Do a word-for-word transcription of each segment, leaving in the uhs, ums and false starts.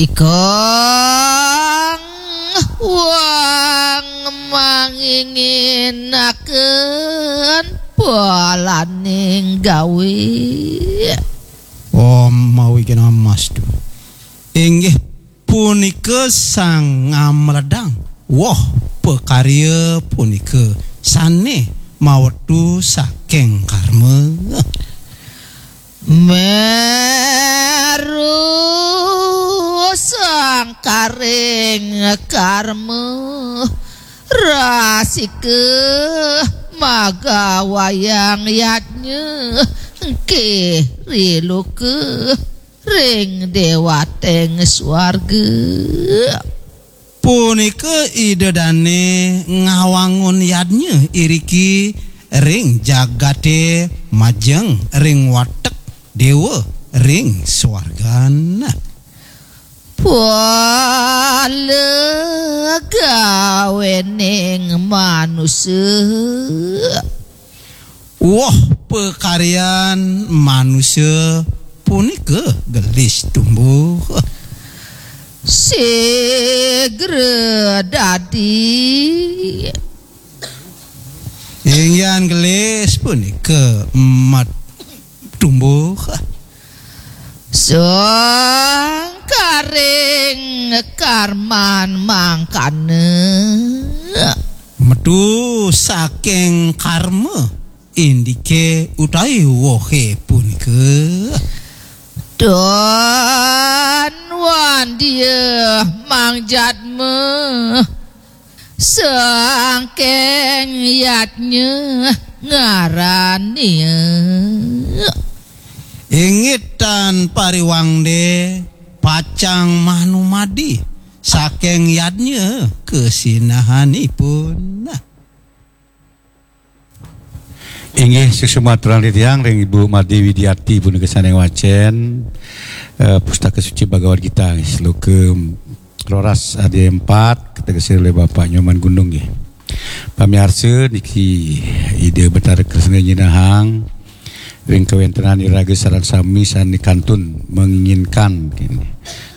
Ikang wang manginginaken polaning gawe. Om mawi kena mas tu. Inggih punika sang ngamledang. Woh pakarya punika sane mawetu saking karma. Meru sangkaring karma, rasika magawayang yadnya, engkih riluka ring dewating swarga. Punika Ida dane ngawangun yadnya iriki ring jagate majeng ring watek dewa ring swargan. Pala gawening manusa. Woh pakaryan manusa punika gelis tumbuh. Sigra dadi. Inggihan gelis punika mat tumbuh. Sangkaring karman mangkana. Metu saking karma indike utawi wohe punika. Don wandia mangjatma saking yadnya ngarania. Inggih tan pariwangde pacang manumadi saking yadnya kasinahanipun. Inggih, suksma aturang titiang ring Ibu Made Widiati punika sane ngwacen, eh, Pustaka Suci Bhagavad Gita, sloka roras adi empat, kategesin oleh Bapak Nyoman Gunung, nggih. Pamiarsa, niki Ida Betara Kresna nyinahang ring kawentenan iraga sareng sami sane kantun menginginkan, nggih,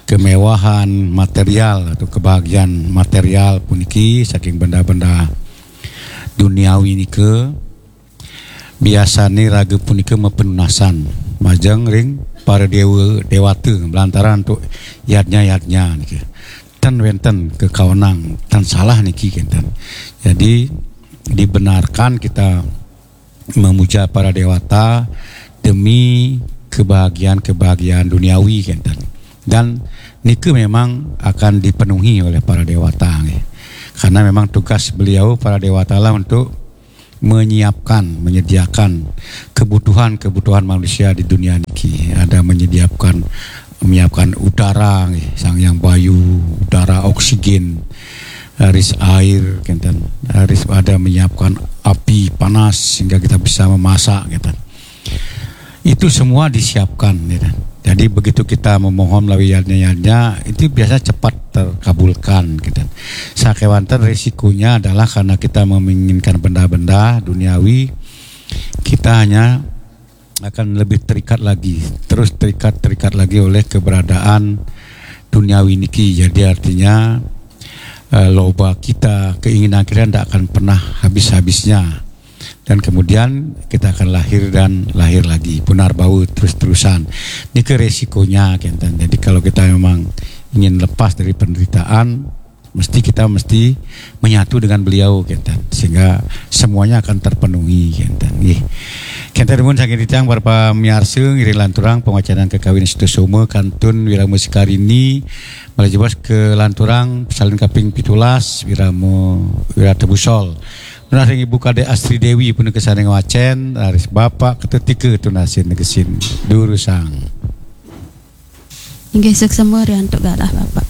kemewahan material atau kebahagiaan material puniki saking benda-benda duniawi nika. Biasane raga punika mapenunasan majeng ring para dewa dewata lantaran antuk yadnya-yadnya niki. Ten wenten kakaonang, ten salah niki kenten. Jadi dibenarkan kita memuja para dewata demi kebahagiaan-kebahagiaan duniawi kenten. Dan nika memang akan dipenuhi oleh para dewata nggih. Karena memang tugas beliau para dewata lah untuk menyiapkan, menyediakan kebutuhan-kebutuhan manusia di dunia niki. Ada menyediakan, menyiapkan udara nggih, Sang Hyang Bayu, udara, oksigen, raris air kenten, raris ada menyiapkan api panas sehingga kita bisa memasak kenten. Itu semua disiapkan, ya kan? Jadi begitu kita memohon melalui yadnya-yadnya, itu biasa cepat terkabulkan, gitu. Sakewanten resikonya adalah karena kita menginginkan benda-benda duniawi, kita hanya akan lebih terikat lagi, terus terikat, terikat lagi oleh keberadaan duniawi niki. Jadi artinya, eh, loba kita, keinginan kita tidak akan pernah habis-habisnya. Dan kemudian kita akan lahir dan lahir lagi, punar bawa terus-terusan. Ini ke resikonya, kenten. Jadi kalau kita memang ingin lepas dari penderitaan, mesti kita mesti menyatu dengan beliau, kenten. Sehingga semuanya akan terpenuhi, kenten. Nggih. Kenten pun saking titiang para pamiarsa ngiring lanturang pengwacanan kekawin Sutosoma kantun Wirama Sekarini, malih jebos ke lanturang salin kaping pitulas Wirama Wiratebusol. Nunas ring Ibu Kadek Astri Dewi punika sane ngwacen, raris Bapak Ketetika tunasin negesin durusang. Inggih, suksema ri antuk galah Bapak.